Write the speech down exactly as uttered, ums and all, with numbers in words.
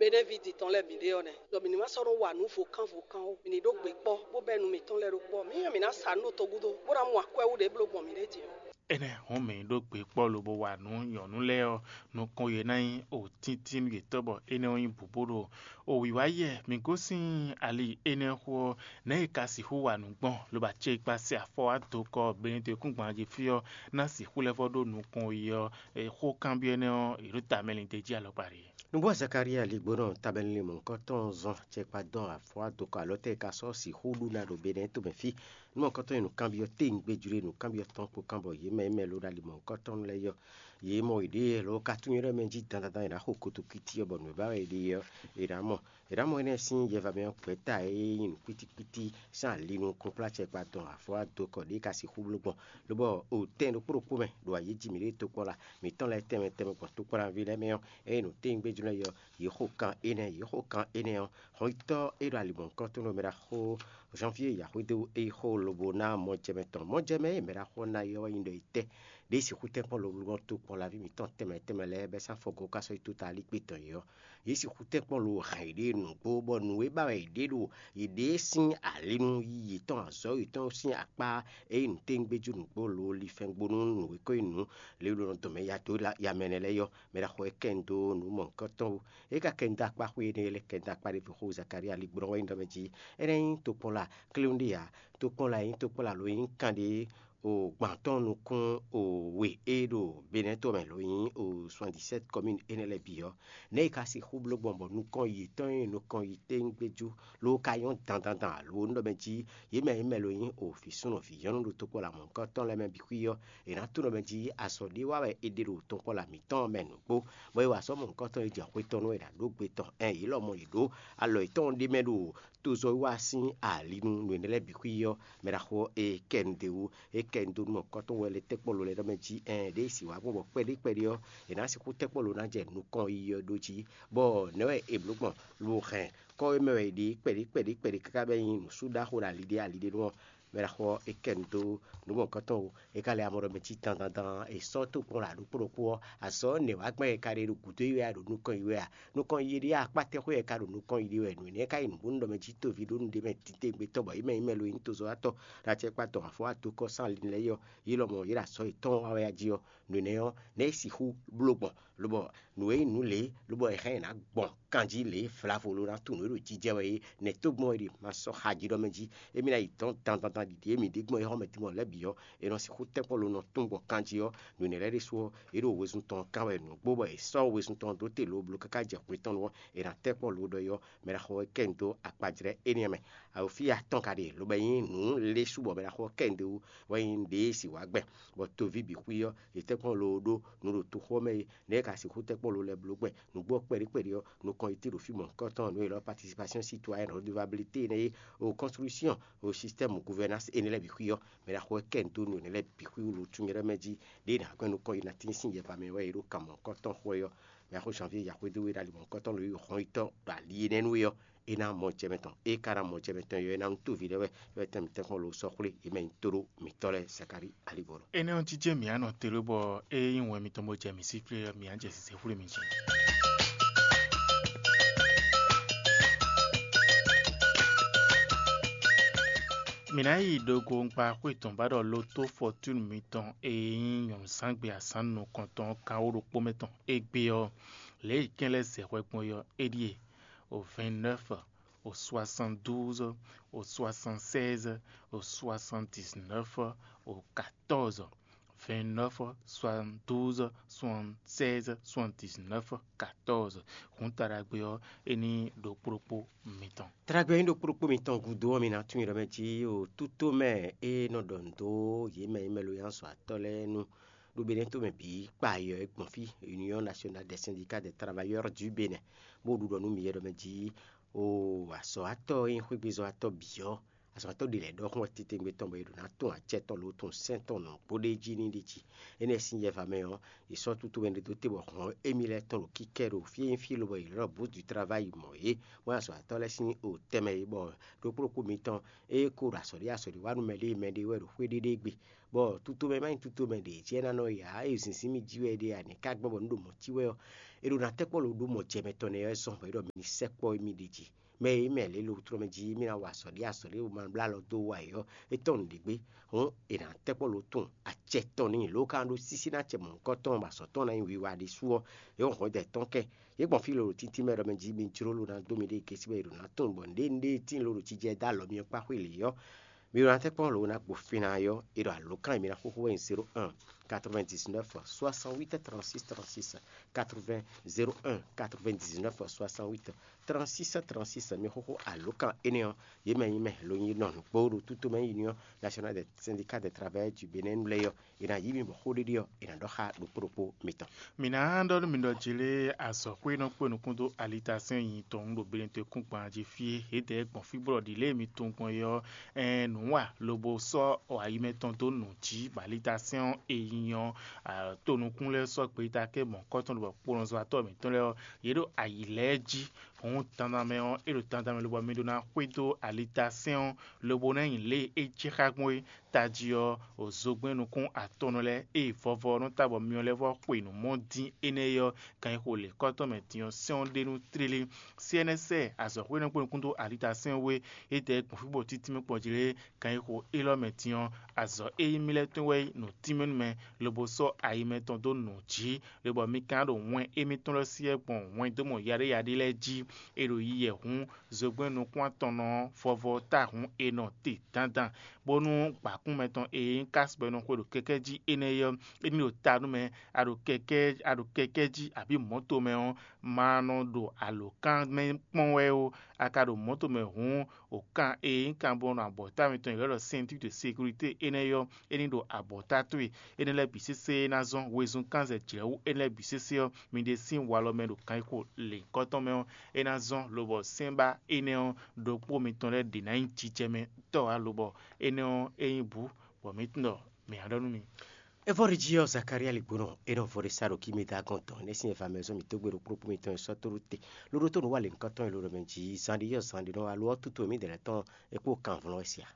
Benɛ́ví din tɔn lɛ́ɛ bǐ ɖe ɔ́ nɛ́, ɖɔ mǐ ní ma sɔ́ nɔ́ wa nǔ vo kán vo kán ó. Mǐ ní ɖó gbe kpɔ́, bó bɛ́ nu mǐtɔn lɛ́ɛ ɖó kpɔ́. Mǐ nyi mǐ ná sa nǔ ɖo togun dó, bó ná mɔ akwɛ́ wú ɖě bló gbɔn mǐɖée din ɔ́. Énɛ́ hɔn mǐ ɖó gbe kpɔ́ lobo wa nǔ nyɔ̌nu lɛ́ɛ ɔ́, nukɔn yě ná nyí o tíntín yětɔn bɔ énɛ́ ɔ́ nyí bǔbú ɖo o wǐwá yɛ mǐ gosín ali énɛ́ xó ɔ́, nɛ̌ è ka sixú wa nǔ gbɔn lobo acékpá sɛ afɔ wá dó kɔ Benɛ́dekúngban jí fí ɔ́, ná sixú lɛ́ vɔ́ ɖó nukɔn yi ɔ́, xó kanbyɔ́ énɛ́ ɔ́, yě ɖo tamɛ lin d'é jí alɔkpa ɖe. Nǔgbó Zakalía ligbónɔ tabɛnlin mɔ̌hunkɔtɔn zɔn cɛkpa dɔn afɔ wá dó kɔ alɔ tɛ́ e ka sɔ́ sixú ɖu ná ɖo Benɛ́ tomɛ fí. Nú mɔ̌hunkɔtɔn e nǔkanbyɔ́ téwungbéjlé nǔkanbyɔ́ tɔn kpó kán bɔ yě mɛ e mɛ ló ɖo ali mɔ̌hunkɔtɔn lɛ́ɛ yɔ, yě mɔ yěɖée lɔ ka tunwun yɔ́ mɛ jí dandandan è nǎ xo kotokwíti ɔ́, bɔ nǔ e ba wɛ è ɖe ɔ́, è nǎ mɔ. È nǎ mɔ énɛ́ sín yɛva mɛ ɔ́ gbɛ̌ta e nyí nǔkpítíkpítí sín ali nukúnplá cɛkpa dɔn afɔ wá dó kɔ ɖě ka sixú bló gbɔn, lobɔ o tɛn ɖokpó ɖokpó mɛ ɖo ayǐ jí mǐɖée tokpɔ́la mǐtɔn lɛ́ɛ tɛnmɛ tɛnmɛ gbɔn tokpɔ́laví lɛ́ɛ mɛ ɔ́, ényí nǔ téwungbéjló lɛ́ɛ yɔ, yě xo kan énɛ́, yě xo kan énɛ́ ɔ́, hɔnyitɔ́ e ɖo ali mɔ̌hunkɔtɔn ɖo mɛ ɖaxó Janvier Yaxwedéwu e yi xó lobo ná mɔjɛmɛ tɔn. Mɔjɛmɛ e mɛ ɖaxó ná ylɔ́ wɛ nyí ɖɔ yi tɛ́ ɖě sixú tɛ́nkpɔ́n lobló ɔ́ tó kpɔ́n laví mǐtɔn tɛnmɛ tɛnmɛ lɛ́ɛ bɛ́ sín afɔgɔ́ ká sɔ́ yi tó ta alíkpé tɔn yě ɔ́, yě sixú tɛ́nkpɔ́n lo hɛn yěɖée nǔgbó, bɔ nǔ e ba wɛ yěɖée ɖo yěɖée sín alinu yí yětɔn azɔ̌ yětɔn sín akpá e nyí nǔtɛ́ngbéjú nǔgbó lo lifɛngbónú nǔ e ko nyí nǔ lě e ɖo nɔ dɔn mɛ ya dó ya mɛ nɛ́ lɛ́ɛ yɔ, mɛ ɖaxó e kɛ nu dó nǔ mɔ̌hunkɔtɔn wú. É ka kɛ nu dó akpá xwé énɛ́ lɛ́ɛ kɛ nu dó akpá ɖěvo xó Zakalía ligbɔ́ wɛ nyí ɖɔ mɛ jí. Énɛ́ nyí tokpɔ́la klúnɖí ǎ. Tokpɔ́la e nyí tokpɔ́la lo nyí kanɖé o gbǎn tɔn nukún o we e ɖo Benɛ́ to mɛ lo nyí o soixante-dix-sept commune énɛ́ lɛ́ɛ bǐ ɔ́, nɛ̌ è ka sixú bló gbɔn bɔ nukɔn yětɔn e nukɔn yi téwúngbéjú ló ka nyɔ́ dandandan alo nú ɖɔ mɛ jí yě mɛ e mɛ lo nyí o vǐ súnnu vǐ nyɔ́nu ɖo tokpɔ́la mɔ̌hunkɔtɔn lɛ́ɛ mɛ bǐ xwí ɔ́, è nǎ tunwun ɖɔ mɛ jí azɔ̌ ɖé wa wɛ è ɖe ɖo tokpɔ́la mǐtɔn mɛ nǔgbó, bɔ é wa azɔ̌ mɔ̌hunkɔtɔn e jɛ xwé tɔn nú é ɖo aɖǒgbe tɔn. Ɛn yě lɔmɔ̌ yě ɖó alɔ yětɔn ɖé mɛ ɖo tozɔ́wiwa sín ali nú nǔ énɛ́ lɛ́ɛ bǐ xwí ɔ́, mɛ ɖaxó ɔ́ e kɛ nu d'é wú, e kɛ nu dó nú mɔ̌hunkɔtɔn wɛ lɛ́ tɛ́nkpɔ́n lo lɛ́ɛ ɖɔ mɛ jí ɛn ɖěe si wǎ gbɔn bɔ kpɛɖé kpɛɖé ɔ́, è nǎ sixú tɛ́nkpɔ́n lo ná jɛ nukɔn yiyi ɔ́ ɖó jí, bɔ nɛ̌ wɛ è blǒ gbɔn lo hɛn kɔ́ e mɛ wɛ è ɖe kpɛɖé kpɛɖé kpɛɖé káká bɛ́ nyí nǔsúɖaxó ɖo ali ɖé ali ɖé nu ɔ́, mɛ ɖaxó ɔ́ e kɛ nu dó nǔ mɔ̌hunkɔtɔn wú. É ka lɛ amɔ ɖɔ mɛ cí dandandan è sɔ́ tó kpɔ́n ɖo aɖǔkpó ɖokpó ɔ́, azɔ̌ nɛ̌ wá gbɛn è ka ɖe ɖo gǔdo yi wɛ a ɖo nukɔn yi wɛ a? Nukɔn yi ɖé akpá tɛ́ xwé è ka ɖo nukɔn yi ɖe wɛ? Nǔ énɛ́ ka nyí nǔbónú ɖɔ mɛ jí toví ɖó nǔɖé mɛ titewungbe tɔn bɔ yě mɛ nyí mɛ lo nyí tozɔ́watɔ́ ɖo acɛkpá tɔn afɔwá tokɔ́ sín ali lɛ́ɛ yɔ, yě lɔmɔ̌ yě ɖo azɔ̌ yětɔn wa wɛ a jí ɔ́, nǔ énɛ́ ɔ́, nɛ̌ é sixú bló gbɔn, lobɔ nǔ e nyí nǔ lě, lobɔ è hɛn ɛ ná gbɔn kanjí lě vlavo lo ná tunwun nǔ e ɖo jijɛ wɛ é, nɛ̌ tó gbɔn è ɖe ma sɔ́ xa jí ɖɔ mɛ jí? Émí ná yi dɔ̌n dandandan ɖiɖi e mǐ ɖe gbɔn é xɔ́mɛ din mɔ lɛ́ɛ bǐ ɔ́, è nɔ sixú tɛ́nkpɔ́n lo nɔ tún gbɔn kanjí ɔ́, nǔ énɛ́ lɛ́ɛ ɖésú ɔ́, yě ɖo wezun tɔn kan wɛ nǔgbó bɔ è sɔ́ wezun tɔn ɖó te lobló káká jɛ hwetɔ́nu ɔ́, è nǎ tɛ́nkpɔ́n lo ɖɔ é ɔ́, mɛ ɖaxó ɔ́ kɛ nu dó akpajlɛ́ énɛ́ mɛ. Awǒfíya tɔn ka ɖe, lobo nyí nǔ lé sú bɔ mɛ ɖaxó ɔ́ kɛ nu dó wú, wɛ nyí ɖěe si wǎ gbɛn, bɔ toví bǐ xwí ɔ́, yě tɛ́nkpɔ́n lo ɖó nǔ ɖo toxo ɔ́ mɛ é, nɛ̌ è ka sixú tɛ́nkpɔ́n lo lɛ́ɛ bló gbɛn? Nǔgbó ɔ́ kpɛɖé kpɛɖé ɔ́, nukɔn yi tí ɖo fí mɔ̌hunkɔtɔn nǔ e è nɔ participation citoyenne redevabilité énɛ́ é, o construction o système gouvernance énɛ́ lɛ́ɛ bǐ xwí ɔ́, mɛ ɖaxó wɛ kɛ nu dó nǔ énɛ́ lɛ́ɛ bǐ xwí wú lo tún nyɛ ɖɔ mɛ jí, ɖěe nǎ gbɛn nukɔn yi ná tín sín yɛva mɛ wɛ è ɖo kan mɔ̌hunkɔtɔn xwɛ ɔ́, mɛ axó Janvier Yaxwedó e ɖo ali mɔ̌hunkɔtɔn lo yi hɔn yi tɔn ɖo ali énɛ́ nu é ɔ́, é ná mɔ jɛ mɛ tɔn. É ka ná mɔ jɛ mɛ tɔn é ɔ́, é ná nú tóvi lɛ́ɛ wɛ, é wɛ tɛn mǐtɛn kɔn lo sɔ́ xwlé yě mɛ nyí tóɖó mǐtɔn lɛ́ɛ Zakalíi alígbɔ́ lɔ. Énɛ́ ɔ́ jijɛ mǐ á nɔ te ɖó bɔ é nyí wɛn mitɔn bó jɛ mǐ sí flé ɔ́, mǐ á jɛ sisɛ xwlé mi jí. Mǐ ná yi ɖo gongba xwé tɔn ba ɖɔ loto fɔtúnu mitɔn e nyí nyɔ̌nuzángbe azǎn nukɔntɔn kan wó ɖokpó mɛ tɔn égbé ɔ́, lě e kɛn lɛ́ɛ zɛ hwɛ gbɔn é ɔ́, é ɖíe: au vingt-neuf, au soixante-douze, au soixante-seize, au soixante-dix-neuf, au quatorze. Vingt-neuf, soixante-douze, soixante-seize, soixante-dix-neuf, quatorze. Hǔn taɖagbe ɔ́, é ní ɖokpó ɖokpó mitɔn. Taɖagbe ɔ́ nyí ɖokpó ɖokpó mitɔn gúdo ɔ́, mi ná tunwun ɖɔ mɛ jí o tútó mɛ e nɔ ɖɔ nǔ dó yě mɛ e mɛ lo nyi azɔ̌watɔ́ lɛ́ɛ nu ɖo Benɛ́ to mɛ bǐ kpa yɔ é gbɔn fí, Union Nationale des Syndicats des Travailleurs du Bénin, bó ɖu ɖɔ nú mi yɛ ɖɔ mɛ jí o azɔ̌watɔ́ e nyí xwégbezɔ́watɔ́ bǐ ɔ́, azɔ̌watɔ́ ɖě lɛ́ɛ ɖɔhun wɛ titewungbe tɔn bɔ è ɖǒ ná tún acɛ tɔn lo tún sɛ́n tɔn nǔgbó ɖé jí ní ɖi jí. Énɛ́ sín yɛva mɛ ɔ́, è sɔ́ tútú mɛ ɖé dó te bɔ hɔn émí lɛ́ɛ tɔn ɖo kíkɛ ɖo fí e nyí fí lobɔ è ylɔ́ bourse du travail mɔ yě, bɔ azɔ̌watɔ́ lɛ́ɛ sín o tɛnmɛ é, bɔ ɖokpó ɖokpó mitɔn e ko ɖo azɔ̌ ɖé azɔ̌ ɖé wa nú mɛɖée mɛɖée wɛ ɖo xwé ɖé ɖé gbe, bɔ tutomɛ ma nyí tutomɛ ɖě jɛ ná nɔ ya e zǐnzín mì jí wɛ ɖe ǎ, nɛ̌ ka gbɔn bɔ nǔ ɖo mɔ̌ cí wɛ ɔ́, è ɖo ná tɛ́ kpɔ́ lo ɖó mɔ jɛ mɛtɔn nɛ́ ɔ́ zɔn bɔ é ɖɔ mi ní sɛkpɔ́ émí ɖ'é jí. Mɛ e mɛ lě lo tlɔ́ mɛ jí émí ná wa azɔ̌ ɖé azɔ̌ ɖé ma blá alɔ dó wa é ɔ́, é tɔn nǔɖé gbé. Hǔn è nǎ tɛ́ kpɔ́ lo tunwun acɛ tɔn n'i lǒ ka ɖó sísí ná acɛ mɔ̌hunkɔtɔn bɔ azɔ̌ tɔn ná nyí wiwa ɖésú ɔ́, é hɔn hwɛ̌ dɛ̌ tɔn kɛ. Yě gbɔn fí lolo tíntín mɛ ɖɔ mɛ jí mi jló lo ná dó mi ɖée gěsí bɔ è ɖo ná tunwun bɔ nǔɖé nǔɖé e tíin lo ɖo jijɛ dó alɔ mi ɔ́ kpá xwé lě ɔ́, mi ɖo ná tɛ́ kpɔ́n lo ná gbo fín ná ɔ́, è ɖo alǒkan e mi ná xóxó wɛ nyí zéro un quatre-vingt-dix-neuf soixante-huit trente-six trente-six, quatre-vingts zéro un quatre-vingt-dix-neuf soixante-huit trente-six trente-six. Mi xóxó alǒkan énɛ́ ɔ́, yě mɛ nyí mɛ lo nyí nɔ nǔgbó ɖo tútó mɛ nyí Union Nationale des Syndicats des Travailleurs du Bénin lɛ́ɛ ɔ́, è nǎ yí mi bɔ xó ɖé ɖé ɔ́, è nǎ ɖɔ xá ɖokpó ɖokpó mitɔn. Mǐ ná ɖɔ nú mi ɖɔ jlé azɔ̌xwé e nɔ kpé nukún dó alitasɛ́n nyi tɔn ɖo Benin-tɔn kúngban jí fí e, yě dɛ̌ gbɔn fí bɔ ɖi lě e mi tunwun gbɔn é ɔ́, ɛɛn nǔ wa lobo sɔ́ ayi mɛtɔn dó nǔ jí, bɔ alitasɛ́n ɔ́ e nyi ɔ́, to nukún lɛ́ɛ sɔ́ gbeyíta kɛ mɔ̌kɔ́tɔn ɖo kponɔzɔ́watɔ́ mǐtɔn lɛ́ɛ ɔ́, yě ɖo ayǐ lɛ́ɛ jí. Hǔn dandan mɛ ɔ́, é ɖo dandan mɛ lobɔ mi ɖó ná xwedó alitasɛ́n ɔ́, lobo ná nyi lě e é jɛ xá gbɔn é. Tají ɔ́, zogbɛ́n nukún atɔ́nɔ lɛ́ɛ e vɔvɔ ɔ́ nɔ ta bɔ myɔ lɛ́ɛ vɔ xwe nǔ mɔ dín énɛ́ é ɔ́, ganxixo lěkɔ́tɔn mɛ din ɔ́ sɛ́n ɔ́ ɖe nú tlílí. C N S azɔ̌xwé nɔ kpó nukún dó alitasɛ́n wé, é dɛ gbɔn fí bɔ títí mɛ kpɔ́n jí lé. Ganxixo élɔ́ mɛ din ɔ́, azɔ̌ e nyí mì lɛ́ɛ tɔn wɛ nyí nǔtínmɛnúmɛ, lobo sɔ́ ayi mɛtɔn dó nǔ jí, lobɔ mi ka ɖo wɛn émítɔn lɛ́ɛ syɛ́ gbɔn wɛndómɔ yaɖéyaɖé lɛ́ɛ jí. È ɖo yiyɛ hǔn, zogbɛ́n nukún atɔnnɔ ɔ́, vɔvɔ ɔ́ ta hǔn è nɔ te dandan, bónú gbǎkún mɛtɔn e nyí kásbɔ e nɔ xwe ɖo kɛkɛ́ jí énɛ́ é ɔ́, é ní ɖo ta nú mɛ, a ɖo kɛkɛ́ a ɖo kɛkɛ́ jí abǐ mɔ̌to mɛ ɔ́, ma nɔ ɖo alǒkan mɛ kpɔ́n wɛ ó. A ka ɖo mɔ̌to mɛ hǔn, o kan e nyí kanbɔnɔ abɔ̌ta mitɔn e ylɔ́ ɖɔ ceinture de sécurité énɛ́ ɔ́, é ní ɖo abɔ̌ta towe. Énɛ́ lɛ́ɛ bǐ sésé ná zɔ́n wezun kánzɛ jlɛ̌wú énɛ́ lɛ́ɛ bǐ sésé ɔ́, mi ɖe sín walɔ mɛ ɖo kanxixo lěhunkɔtɔn mɛ ɔ́, é ná zɔ́n lobɔ sɛ́nbá énɛ́ ɔ́ ɖokpó mitɔn lɛ́ɛ ɖě ná nyí jijɛ mɛ tɔ́ ǎ, lobɔ énɛ́ ɔ́ é nyí bǔ, bɔ mǐ tunwun ɖɔ mǐ á ɖɔ nú mi. É vɔ ɖi jí ɔ́, Zakalía ligbónɔ é nɔ vɔ ɖé sá ɖo kímí dó agɔn tɔn, énɛ́ sín eva mɛ zɔ́n mǐ dó gbe ɖo kplɔ́kpó mitɔn e sɔ́ tó ɖó te, loɖó tó nǔ wa lě nukɔn tɔn e ló ɖɔ mɛ jí zan ɖi ɔ́, zan ɖi nɔ wa lo ɔ́ tútú e mǐ ɖe lɛ́ tɔn é kpó kanvlɔ́n wɛ sia.